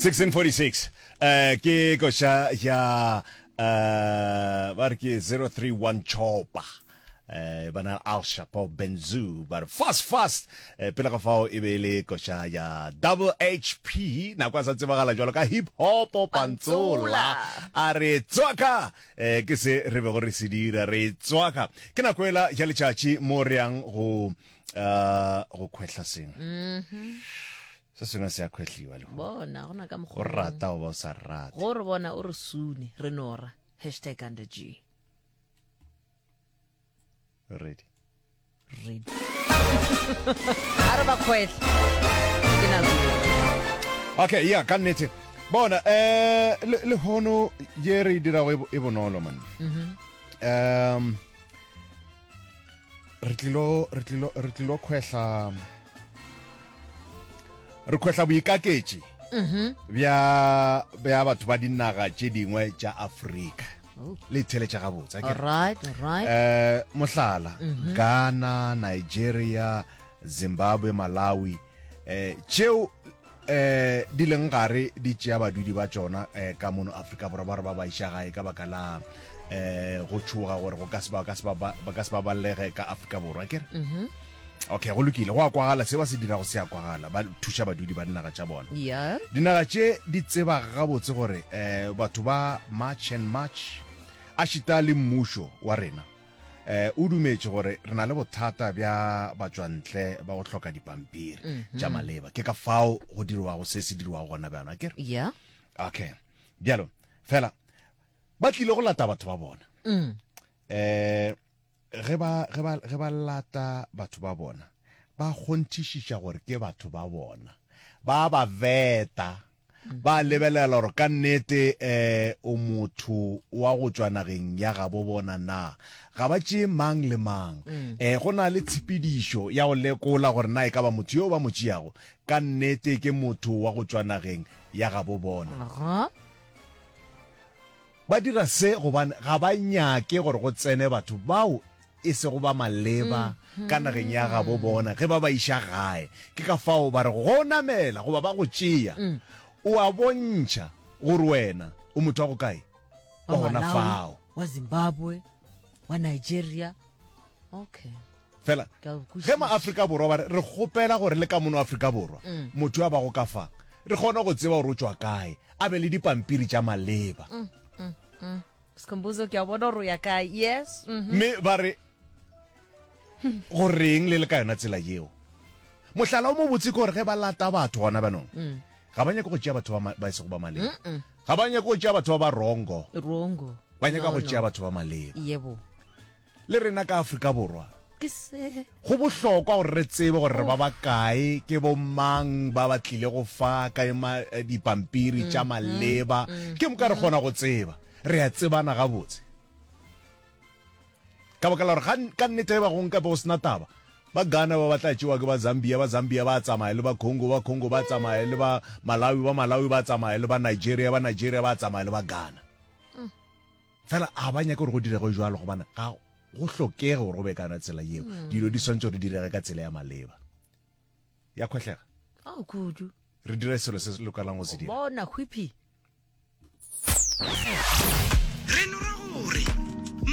1646 eh ke koša ya eh ba re ke 031 chopa eh bana Al Chapo Benzu ba re fast fast eh, pele ga fao e be e le koša ya double HP nako a sa tsebagala jalo ka hip hop pantsola a re tswaka eh ke se re bego re se dira re tswaka ke nako ela ya letšatši mo re yang go uh go khwehla sengwe mm -hmm. Se sengwe se a khwehliwa lehono. Bona, gona ka mokgwa. O rata goba o sa rate. Go re bona o re sune, re nora. Hashtag under G. Ready. Ready. A re ba khwehle. Ke nako. Okay, yeah, ka nnete. Bona, eh lehono ye re e dirago e, e bonolo man. Mhm. Um re tlilo re tlilo re tlilo khwehla re khwehla boikaketši mhm. bja bja batho ba dinaga tše dingwe tša Afrika oh. le theletša gabotse alright alright eh mohlala mm -hmm. Ghana Nigeria Zimbabwe Malawi eh tšeo eh di leng gare di tšea badudi ba tšona eh, ka mono Afrika Borwa ba re ba ba iša gae ka baka la eh go tšhoga gore go ka se ba ka se ba ba ka se ba balege ka Afrika Borwa ke re mm-hmm. okay go lokile go a kwagala se ba se dirago se a kwagala ba thuša badudi ba dinaga tša bona yeah. dinaga tše di tseba gabotse gore eh batho ba march and march a šita le mmušo wa rena Eh, o dumetše gore re na le bothata bja batšwantle ba go hloka dipampiri mm -hmm. tša maleba. Ke ka fao go dirwago se se dirwago gona bjano, akere? Yeah. Okay. Bjalo, fela ba tlile go lata batho ba bona. Mm. Eh, ge ba ge ba ge ba lata batho ba bona, ba kgonthišiša gore ke batho ba bona. Ba ba veta Ba lebelela gore ka nnete um o motho wa go tšwa nageng ya gabo bona na. Ga ba tšee mang le mang. Um go na le tshepedišo ya go lekola gore na e ka ba motho yo ba mo tšeago ka nnete ke motho wa go tšwa nageng ya gabo bona. Ba dira se gobane ga ba nyake gore go tsene batho bao e sego ba maleba ka nageng ya gabo bona ge ba ba iša gae. Ke ka fao ba rego, Go namela goba ba go tšea, o a bontšha gore wena o motho wa go kae, wa gona fao. Wa Zimbabwe, wa Nigeria. Okay. Fela ge ma-Afrika Borwa ba re, re kgopela gore le ka mono Afrika Borwa mm. motho a bago ka fa re kgone go tseba gore o tšwa kae, a be le dipampiri tša maleba. Mm, mm, mm. Skhumbuzo ke a bona gore o ya kae. Yes. Mm -hmm. Mme ba re go reng le le ka yona tsela yeo. Mohlala o mobotse ke gore ge ba lata batho gona banong mm. ga ba nyake go tšea batho ba e sego ba maleba. Ga ba nyake go tšea batho ba ba rongo. Rongo. Ba nyaka go tšea batho ba maleba. Yebo. Le rena ka Afrika Borwa, Ke se. go bohlokwa gore re tsebe gore re ba bakae, ke bomang ba ba tlilego fa ka ma, dipampiri tša maleba. Ke moka re kgona go tseba. Re a tsebana gabotse. Ka baka la gore ga, ka nnete ge ba go nka be go se na taba, ba Ghana ba ba tla tšewa ke ba Zambia, ba Zambia ba tsamaya le ba Congo, ba Congo ba tsamaya le ba Malawi, ba Malawi ba tsamaya le ba Nigeria, ba Nigeria ba tsamaya le ba Ghana. Fela ga ba nyake gore go direge jwalo gobane ga go hlokege gore go be ka yona tsela yeo. Mm. Dilo di swantse gore di direge ka tsela ya maleba. Ya khwehlega. Oh, kudu. Re dire selo se se lokelang go se dira. Bona, hwipi. Re nora gore.